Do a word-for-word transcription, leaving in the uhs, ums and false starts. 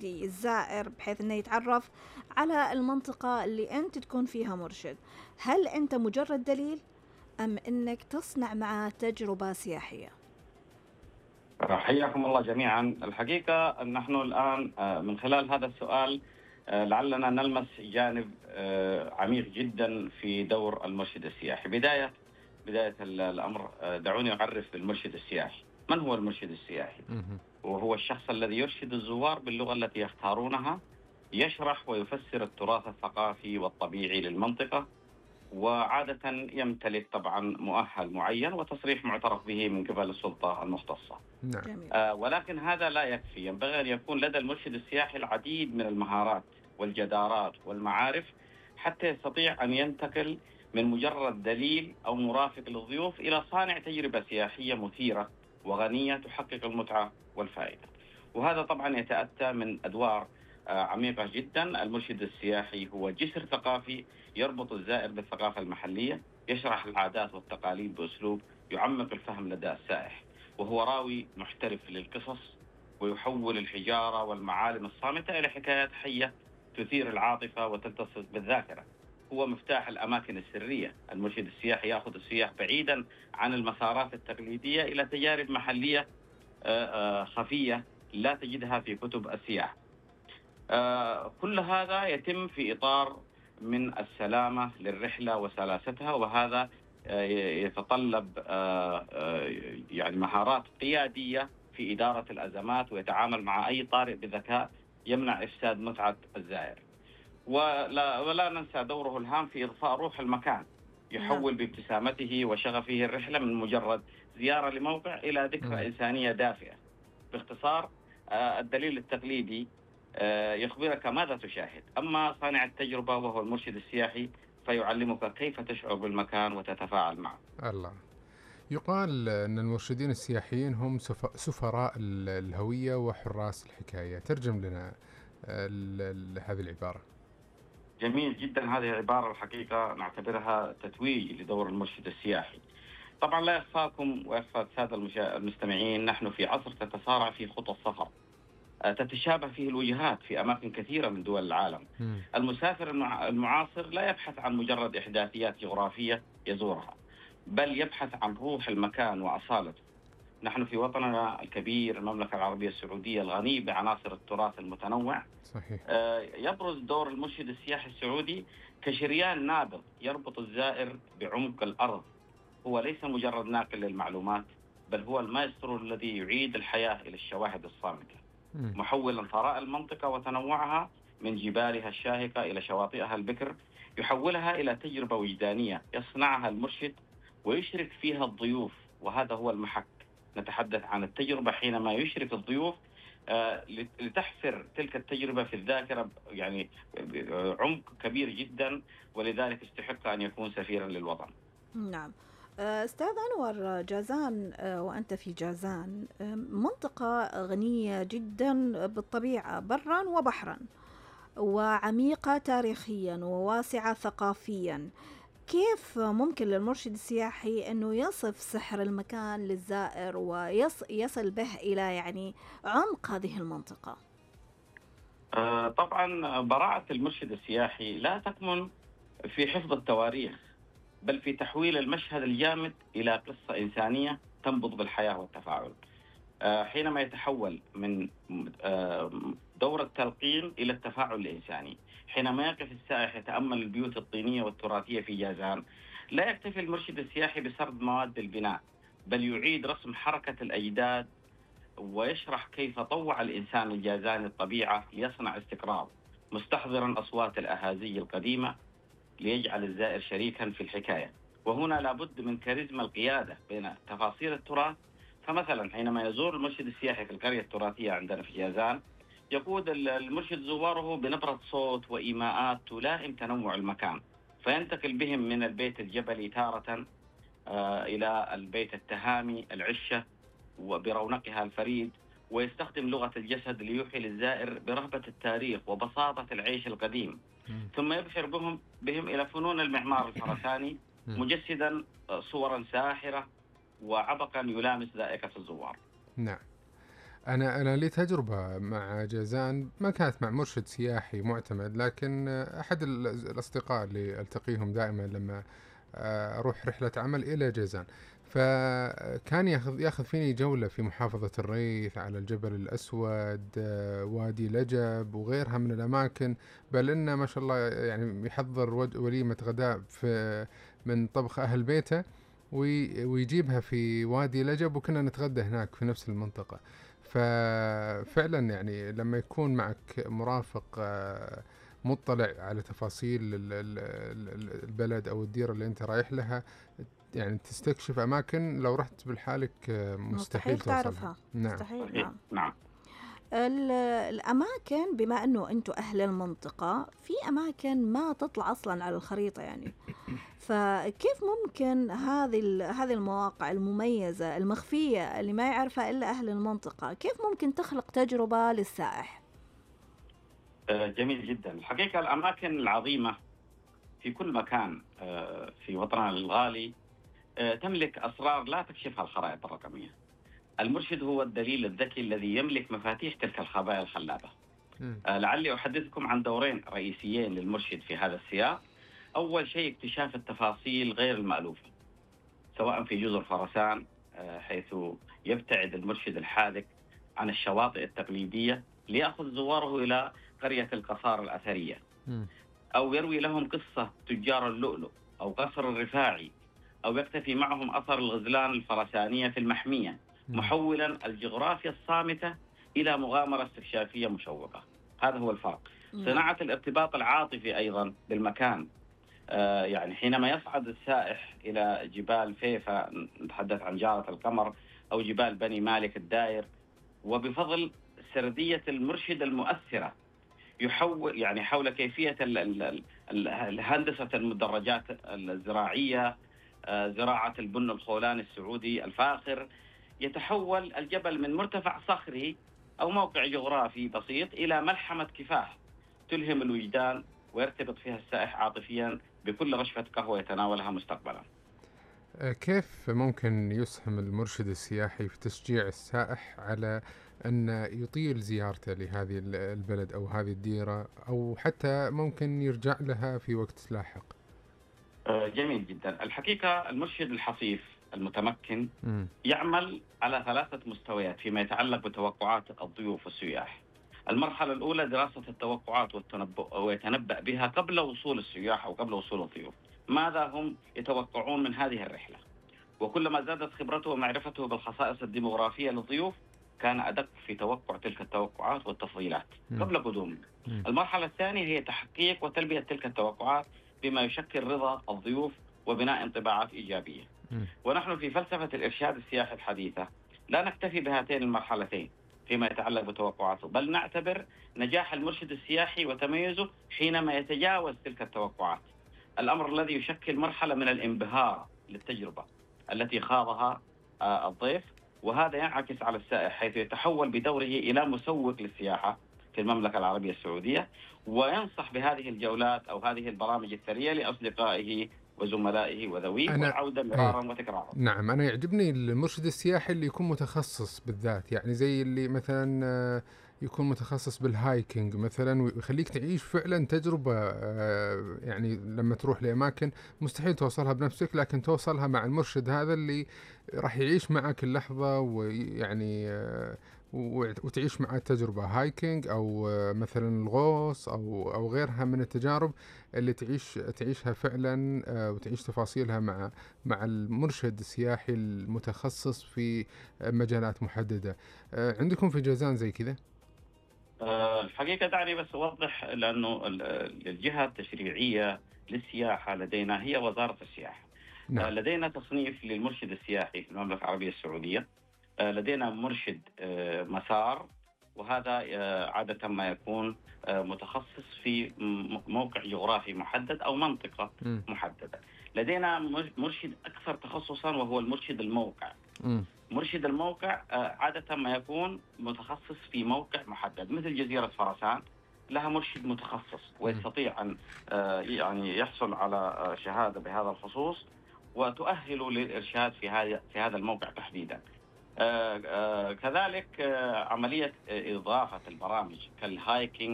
الزائر بحيث أنه يتعرف على المنطقة اللي أنت تكون فيها مرشد. هل أنت مجرد دليل أم أنك تصنع معه تجربة سياحية؟ حياكم الله جميعا. الحقيقة نحن الآن من خلال هذا السؤال لعلنا نلمس جانب عميق جدا في دور المرشد السياحي. بداية بداية الأمر دعوني أعرف بالمرشد السياحي. من هو المرشد السياحي؟ وهو الشخص الذي يرشد الزوار باللغة التي يختارونها، يشرح ويفسر التراث الثقافي والطبيعي للمنطقة، وعادة يمتلك طبعا مؤهل معين وتصريح معترف به من قبل السلطة المختصة. نعم. آه ولكن هذا لا يكفي، ينبغي أن يكون لدى المرشد السياحي العديد من المهارات والجدارات والمعارف حتى يستطيع أن ينتقل من مجرد دليل أو مرافق للضيوف إلى صانع تجربة سياحية مثيرة وغنية تحقق المتعة والفائدة. وهذا طبعا يتأتى من أدوار عميقة جدا. المرشد السياحي هو جسر ثقافي يربط الزائر بالثقافة المحلية، يشرح العادات والتقاليد بأسلوب يعمق الفهم لدى السائح، وهو راوي محترف للقصص ويحول الحجارة والمعالم الصامتة إلى حكايات حية تثير العاطفة وتلتصق بالذاكرة. هو مفتاح الأماكن السرية. المرشد السياحي يأخذ السياح بعيدا عن المسارات التقليدية إلى تجارب محلية خفية لا تجدها في كتب السياحة. آه كل هذا يتم في إطار من السلامة للرحلة وسلاستها، وهذا آه يتطلب آه آه يعني مهارات قيادية في إدارة الأزمات، ويتعامل مع أي طارئ بذكاء يمنع إفساد متعة الزائر. ولا, ولا ننسى دوره الهام في إضفاء روح المكان، يحول بابتسامته وشغفه الرحلة من مجرد زيارة لموقع إلى ذكرى إنسانية دافئة. باختصار آه الدليل التقليدي يخبرك ماذا تشاهد، أما صانع التجربة وهو المرشد السياحي فيعلمك كيف تشعر بالمكان وتتفاعل معه. الله. يقال أن المرشدين السياحيين هم سفراء الهوية وحراس الحكاية. ترجم لنا هذه العبارة. جميل جدا. هذه العبارة الحقيقة نعتبرها تتويج لدور المرشد السياحي. طبعا لا يخفاكم ويخفى السادة المستمعين، نحن في عصر تتسارع في خطى السفر، تتشابه فيه الوجهات في أماكن كثيرة من دول العالم. م. المسافر المعاصر لا يبحث عن مجرد إحداثيات جغرافية يزورها، بل يبحث عن روح المكان وأصالته. نحن في وطننا الكبير المملكة العربية السعودية الغني بعناصر التراث المتنوع. صحيح. يبرز دور المرشد السياحي السعودي كشريان نابض يربط الزائر بعمق الأرض. هو ليس مجرد ناقل للمعلومات، بل هو المايسترو الذي يعيد الحياة إلى الشواهد الصامتة، محولا ثراء المنطقة وتنوعها من جبالها الشاهقة إلى شواطئها البكر، يحولها إلى تجربة وجدانية يصنعها المرشد ويشرك فيها الضيوف. وهذا هو المحك. نتحدث عن التجربة حينما يشرك الضيوف آه لتحفر تلك التجربة في الذاكرة، يعني عمق كبير جدا، ولذلك استحق أن يكون سفيرا للوطن. نعم. أستاذ أنور، جازان وأنت في جازان منطقة غنية جدا بالطبيعة برا وبحرا، وعميقة تاريخيا وواسعة ثقافيا. كيف ممكن للمرشد السياحي أنه يصف سحر المكان للزائر ويصل به إلى يعني عمق هذه المنطقة؟ آه طبعا براعة المرشد السياحي لا تكمن في حفظ التواريخ، بل في تحويل المشهد الجامد إلى قصة إنسانية تنبض بالحياة والتفاعل. حينما يتحول من دور التلقين إلى التفاعل الإنساني، حينما يقف السائح يتأمل البيوت الطينية والتراثية في جازان، لا يكتفي المرشد السياحي بسرد مواد البناء، بل يعيد رسم حركة الأجداد ويشرح كيف طوع الإنسان الجازاني الطبيعة ليصنع استقرار، مستحضرا أصوات الأهازيج القديمة ليجعل الزائر شريكا في الحكاية. وهنا لابد من كاريزما القيادة بين تفاصيل التراث. فمثلا حينما يزور المرشد السياحي في القرية التراثية عندنا في جازان، يقود المرشد زواره بنبرة صوت وإيماءات تلائم تنوع المكان، فينتقل بهم من البيت الجبلي تارة آه إلى البيت التهامي العشة وبرونقها الفريد، ويستخدم لغة الجسد ليوحي للزائر برهبة التاريخ وبساطة العيش القديم. ثم يبشر بهم بهم إلى فنون المعمار الخرساني، مجسدا صورا ساحرة وعبقا يلامس ذائقة الزوار. نعم. أنا أنا لي تجربة مع جازان، ما كانت مع مرشد سياحي معتمد، لكن أحد ال الأصدقاء اللي ألتقيهم دائمًا لمّا آآ أروح رحلة عمل إلى جازان، فكان ياخذ ياخذ فيني جولة في محافظة الريث، على الجبل الأسود، آه، وادي لجب وغيرها من الأماكن، بل إنه ما شاء الله يعني يحضّر ود وليمة غداء في من طبخ أهل بيته، وي ويجيبها في وادي لجب، وكنا نتغدى هناك في نفس المنطقة. ففعلا يعني لما يكون معك مرافق آه، مطلع على تفاصيل ال- ال- ال- البلد أو الديرة اللي أنت رايح لها، يعني تستكشف أماكن لو رحت بالحالك آه، مستحيل مستحيل توصلها. تعرفها، نعم. مستحيل، صحيح، نعم. نعم. ال- الأماكن، بما أنه أنتوا أهل المنطقة، في أماكن ما تطلع أصلا على الخريطة يعني، فكيف ممكن هذه ال- هذه المواقع المميزة المخفية اللي ما يعرفها إلا أهل المنطقة، كيف ممكن تخلق تجربة للسائح؟ آه، جميل جدا. الحقيقة الأماكن العظيمة في كل مكان آه، في وطننا الغالي آه، تملك أسرار لا تكشفها الخرائط الرقمية. المرشد هو الدليل الذكي الذي يملك مفاتيح تلك الخبايا الخلابة. مم. آه، لعلي أحدثكم عن دورين رئيسيين للمرشد في هذا السياق. أول شيء اكتشاف التفاصيل غير المألوفة، سواء في جزر خراسان آه، حيث يبتعد المرشد الحاذق عن الشواطئ التقليدية ليأخذ زواره إلى قرية القصار الأثرية، مم. أو يروي لهم قصة تجار اللؤلؤ أو قصر الرفاعي، أو يكتفي معهم أثر الغزلان الفرسانية في المحمية، مم. محولا الجغرافيا الصامتة إلى مغامرة استكشافية مشوقة. هذا هو الفرق. صناعة الارتباط العاطفي أيضا بالمكان. آه يعني حينما يصعد السائح إلى جبال فيفا، نتحدث عن جارة القمر أو جبال بني مالك الدائر، وبفضل سردية المرشد المؤثرة يحول يعني حول كيفية ال- ال- ال- ال- الهندسة المدرجات الزراعية، آه، زراعة البن الخولاني السعودي الفاخر، يتحول الجبل من مرتفع صخري أو موقع جغرافي بسيط إلى ملحمة كفاح تلهم الوجدان، ويرتبط فيها السائح عاطفيا بكل رشفة قهوة يتناولها مستقبلا. آه، كيف ممكن يسهم المرشد السياحي في تشجيع السائح على أن يطيل زيارته لهذه ال- البلد أو هذه الديرة، أو حتى ممكن يرجع لها في وقت لاحق؟ آه، جميل جدا. الحقيقة المرشد الحصيف المتمكن مم. يعمل على ثلاثة مستويات فيما يتعلق بتوقعات الضيوف والسياح. المرحلة الأولى دراسة التوقعات والتنبؤ ويتنبأ بها قبل وصول السياح أو قبل وصول الضيوف، ماذا هم يتوقعون من هذه الرحلة، وكلما زادت خبرته ومعرفته بالخصائص الديموغرافية للضيوف كان أدق في توقع تلك التوقعات والتفضيلات مم. قبل قدومهم. مم. المرحلة الثانية هي تحقيق وتلبية تلك التوقعات بما يشكل رضا الضيوف وبناء انطباعات إيجابية. مم. ونحن في فلسفة الإرشاد السياحي الحديثة لا نكتفي بهاتين المرحلتين فيما يتعلق بتوقعاته، بل نعتبر نجاح المرشد السياحي وتميزه حينما يتجاوز تلك التوقعات، الأمر الذي يشكل مرحلة من الانبهار للتجربة التي خاضها آه، الضيف، وهذا ينعكس على السائح حيث يتحول بدوره إلى مسوق للسياحة في المملكة العربية السعودية، وينصح بهذه الجولات أو هذه البرامج الثرية لأصدقائه وزملائه وذويه، أنا والعودة أي مرارا وتكرارا. نعم، أنا يعجبني المرشد السياحي اللي يكون متخصص بالذات، يعني زي اللي مثلا آه، يكون متخصص بالهايكينج مثلا، ويخليك تعيش فعلا تجربة، آه، يعني لما تروح لأماكن مستحيل توصلها بنفسك، لكن توصلها مع المرشد هذا اللي راح يعيش معك اللحظة، ويعني آه، و- وتعيش معاه تجربة هايكينج أو آه، مثلا الغوص أو أو غيرها من التجارب اللي تعيش تعيشها فعلا، آه، وتعيش تفاصيلها مع مع المرشد السياحي المتخصص في مجالات محددة. آه، عندكم في جازان زي كذا؟ آه، الحقيقة دعني بس أوضح، لأنه ال- الجهة التشريعية للسياحة لدينا هي وزارة السياحة. آه، نعم. لدينا تصنيف للمرشد السياحي في المملكة العربية السعودية. آه، لدينا مرشد آه، مسار، وهذا آه، عادة ما يكون آه، متخصص في م- موقع جغرافي محدد أو منطقة مم. محددة. لدينا مر- مرشد أكثر تخصصا وهو المرشد الموقع. مم. مرشد الموقع آه، عادة ما يكون متخصص في موقع محدد، مثل جزيرة فرسان لها مرشد متخصص ويستطيع أن آه، يعني يحصل على آه، شهادة بهذا الخصوص وتؤهله للإرشاد في هذا في هذا الموقع تحديدا. آه، آه، كذلك آه، عملية إضافة البرامج كالهايكينج